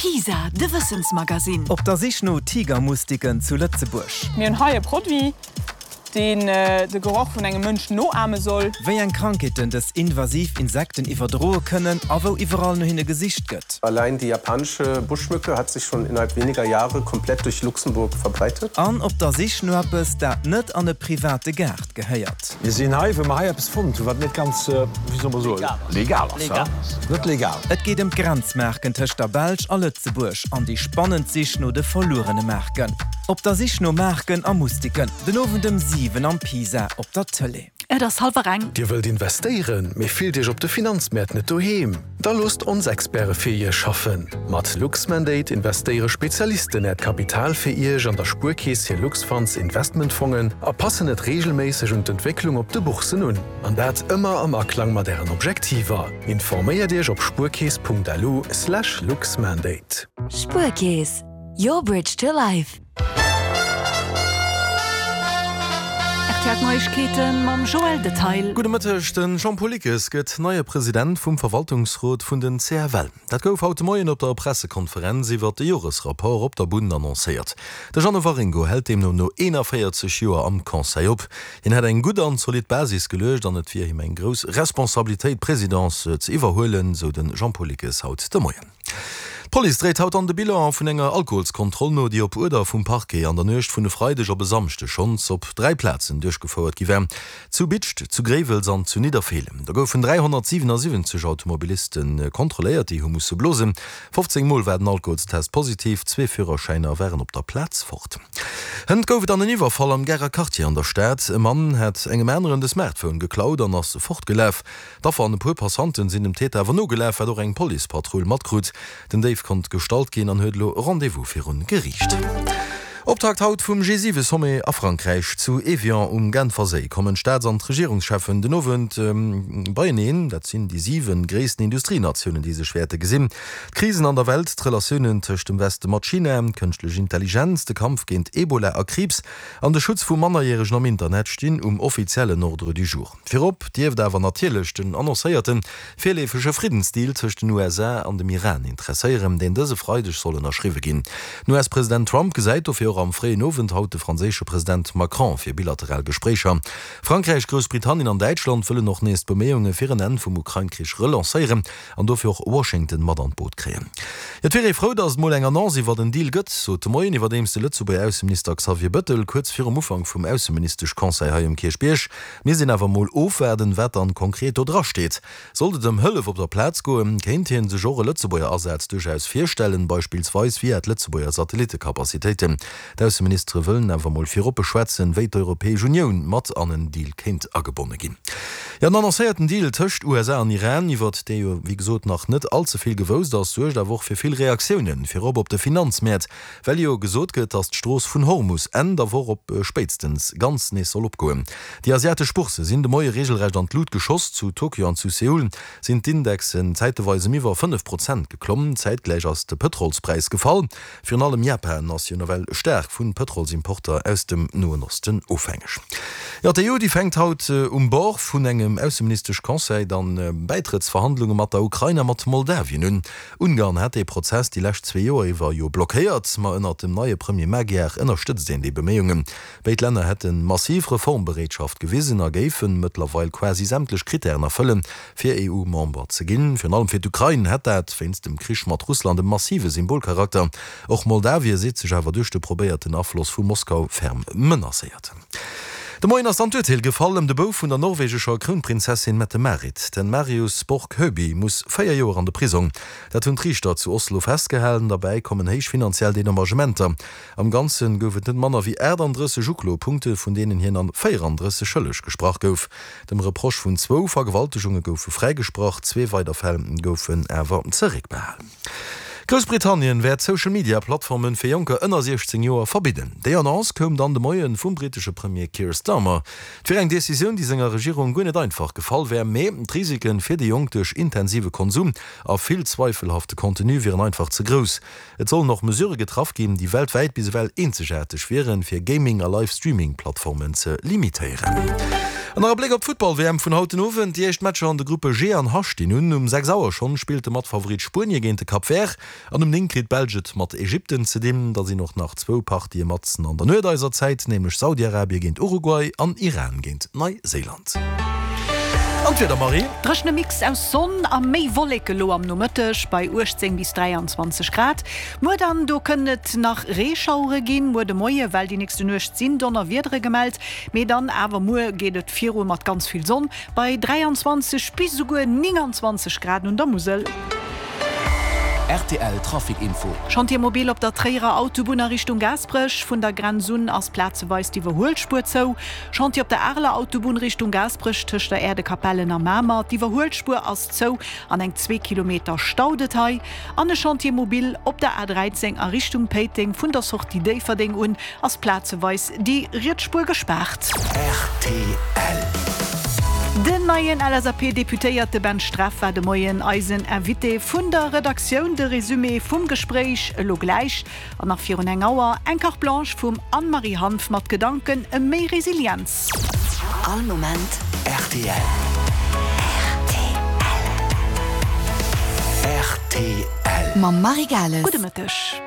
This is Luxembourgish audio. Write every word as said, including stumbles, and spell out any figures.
Pisa, de Wëssensmagasinn. Op der Sich no Tigermustiken zu Lëtzebuerg. Mir hunn hei e Produit, deen de Geroch vun engem Mënsch noahme soll. Wéi eng Krankheeten dës invasiv Insekten iwwerdroe kënnen a wou iwwerall no hinne gesicht gëtt. Allein die japanische Buschmücke hat sich schon innerhalb weniger Jahre komplett durch Luxemburg verbreitet. An op der Sich no eppes, dat net an e private Gaart gehéiert. Mir sinn hei, well mer hei eppes fonnt hunn, wat net ganz, wéi soll mer soen, legal ass. Net legal. Et geet ëm d'Grenzmaarken tëscht der Belsch a Lëtzebuerg an déi spannend Sich no de verluerene Maarken. Op der Sich no Maarken a Mustiken, den Owend ëm siwen am Pisa op der Tëlee. Et ass hallwer eng. Dir wëllt investéieren, mee fillt Iech op de Finanzmäert net doheem? Da loosst ons Experte fir Iech schaffen. Mat Luxmandate investéiere Spezialisten Äert Kapital fir Iech an der Spuerkeess hir Luxfunds Investmentfongen a passen et reegelméisseg un d'Entwécklung op de Bourssen un. An dat ëmmer am Aklang mat Ären Objektiver. Informéiert Iech op spuerkeess punkt lu slash luxmandate. Spuerkeess, your bridge to life. R T L Neiegkeeten mam Joël Detail. Gudde Mëtteg, Den Jean-Paul Lickes gëtt neie President vum Verwaltungsrot vun den C F L. Dat gouf haut de Moien op der Pressekonferenz iwwert de Joresrapport op der Bunn annoncéiert. De Jeannot Waringo hält deemno no eenanvéierzeg Joer am Conseil op. Hien hätt eng gutt an zolidd Basis geluecht an et wier him eng grouss Responsabilitéit, d'Presidence ze iwwerhuelen, sou de Jean-Paul Lickes haut de Moien. D'Police dréit haut an de Bilan vun enger Alkoholskontroll no, déi op Uerder vum Parquet an der Nuecht vun e Freideg op e Samschdeg schonns op dräi Plazen duerchgefouert gi war, zu Bidscht, zu Gréiwels an zu Nidderfeelen. Do goufen dräihonnertsiwenasiwwenzeg Automobiliste kontrolléiert, déi hu musse blosen. fofzéng Mol war den Alkoholstest positiv, zwee Führerschäiner waren op der Plaz fort. Hënt gouf et dann en Iwwerfall am Garer Quartier an der Stad. E Mann hat engem aneren de Smartphone geklaut an ass fortgelaf. D'Affer an e puer Passanten sinn dem Täter awer nogelaf, wat och eng Policepatrull matkruut. Den Déif konnt gestallt ginn an huet elo Rendez-vous virun Geriicht. Optakt haut vum G siwe Sommet a Frankräich. Zu Evian um Genferséi kommen d'Staats an d'Regierungscheffen den Owend beieneen. Dat sinn déi siwe gréissten Industrienatiounen, déi sech wäerte gesinn. D'Krisen an der Welt, d'Relatiounen tëscht dem Weste mat China, kënschtlech Intelligenz, de Kampf géint Ebola a Kriibs an de Schutz vu Mannerjäregen am Internet stinn um offiziellen Ordre du jour. Virop dierft awer natierlech den annoncéierte virleefege Friddensdeal tëscht den U S A an dem Iran interesséieren, deen dëse Freideg soll ënnerschriwwe ginn. Den U S-President Trump gesäit dofir och am fréien Owend haut de franséische President Macron fir bilateral Gespréicher. Frankräich, Groussbritannien an Däitschland wëllen och nees d'Beméiunge fir en Enn vum Ukrain-Krich relancéieren an dofir och Washington mat an d'Boot kréien. Et wier ee frou, datt et mol eng Annonce iwwer den Deal gëtt, sot de Moien iwwerdeems de Lëtzebuerger Ausseminister Xavier Bettel kuerz virum Ufank vum Ausseministesch-Conseil hei um Kierchbierg. Mir sinn awer mol ofwaarden, wat dann konkret do dra steet. Sollt et ëm Hëllef op der Plaz goen, kéint hie sech och e Lëtzebuerger Asaz duerchaus virstellen, beispillsweis via d'Lëtzebuerger Satellittecapacitéiten. D'Ausseministere wëllen awer mol virop beschwätzen, wéi d'Europäesch Unioun mat an en Deal kéint agebonne ginn. Jo, den annoncéierten Deal tëscht U S A an Iran, iwwert dee jo wéi gesot nach net all ze vill gewousst ass, suergt awer och fir vill Reaktiounen, virop op de Finanzmäert, well jo gesot gëtt, datt d'Strooss vun Hormus Enn der Woch op spéitstens ganz nees soll opgoen. Déi asiatesch Boursse sinn de Moie reegelrecht an d'Lut geschoss. Zu Tokio an zu Seoul sinn d'Indexen zäitweis ëm iwwer fënnef Prozent geklomm. Zäitgläich ass de Pëtrolspräis gefall. Virun allem Japan ass jo nawell staark vu Pëtrolsimporter aus dem Noen Osten ofhängeg. Jo, d'E U, déi fänkt haut um Bord vun engem Ausseministesch-Conseil dann Bäitrëttsverhandlunge mat der Ukrain a mat Moldawien un. Ungarn hat dee Prozess déi lescht zwee Joer iwwer jo blockéiert, ma ënnert dem neie Premier Magyar ënnerstëtzt een déi Beméiungen. Béid Länner hätte massiv Reformbereetschaft gewisen a géife mëttlerweil quasi sämtlech Krittären erfëllen, fir E U-Member ze ginn. Virun allem fir d'Ukrain hätt dat wéinst dem Krich mat Russland e massive Symbolcharakter. Och Moldawien seet sech awer duerch de probéierten Afloss vu Moskau ferm menacéiert. De Moien ass dann d'Urteel gefall ëm de Bouf vun der norwegescher Krounprinzessin Mette-Marit. Den Marius Borg Høiby muss véier Joer an de Prisong. Dat hunn d'Riichter zu Oslo festgehalen. Derbäi kommen héich finanziell Dedommagementer. Am Ganze gouf et net manner wéi achtandrësseg Uklopunkte, vun deenen hien an véierandrësseg schëlleg gesprach gouf. Dem Reproche vun zwou Vergewaltegunge gouf fräigesprach, zwee weider Fäll goufen awer zeréckbehalen. Groussbritannien wäert Social-Media-Plattforme fir Jonker ënner siechzéng Joer verbidden. Déi Annonce koum dann de Moie vum britesche Premier Keir Starmer. Et wier eng Decisioun, déi senger Regierung guer net einfach gefall wär, mee d'Risike fir déi Jonk duerch intensive Konsum a vill zweifelhafte Contenu wieren einfach ze grouss. Et sollen och Mesurë getraff ginn, déi weltwäit bis ewell eenzegaarteg wieren, fir Gaming a Live-Streaming-Plattformen ze limitéieren. An nach e Bléck op d'Futtball-WM vun haut den Owend. Déi éischt Matcher an de Gruppe G an H stinn un. Um sechs Auer schonn spillt de Matfavorit Spuenie géint de Cap Vert an um néng kritt d'Belsch et mat Ägypten ze dinn. Da sinn och nach zwou Partië matzen an der Nuet eiser Zäit, nämlech Saudi-Arabie géint Uruguay an Iran géint Neiséiland. An d'Wieder, Marie? Dréchene Mix aus Sonn a méi Wolleke lo am Nomëtteg bei uechtzéng bis dräianzwanzeg Grad. Muer dann, do kënnen et nach Reeschauere ginn, muer de Moie well déi nächste Nuecht sinn Donnerwiedere gemellt, mee dann awer muer geet et viru mat ganz vill Sonn bei dräianzwanzeg bis esouguer nénganzwanzeg Grad un der Musel. Rtl Trafic Info. Chantier mobile op der Tréierer Autobunn a Richtung Gaasperech. Vun der Grenz un ass plazeweis d'Iwwerhuelspuer zou. Chantier op der Areler Autobunn Richtung Gaasperech tëscht der Äerdekapellen a Mamer. D'Iwwerhuelspuer ass zou an eng zwee Kilometer staut et hei. An e Chantier mobile op der A dräizéng a Richtung Péiteng. Vun der Sortie Déifferdeng un ass plazeweis déi riets Spuer gespaart. Rtl. Den neien L S A P-Deputéierte Ben Streff war de Moien eisen Invité vun der Redaktioun. De Resumé vum Gespréich elo gläich. An nach virun eng Auer eng Carte Blanche vum Anne-Marie Hanff mat Gedanken ëm méi Resilienz. All Moment rtl. Rtl. Mam Marie Gales. Gudde Mëtteg.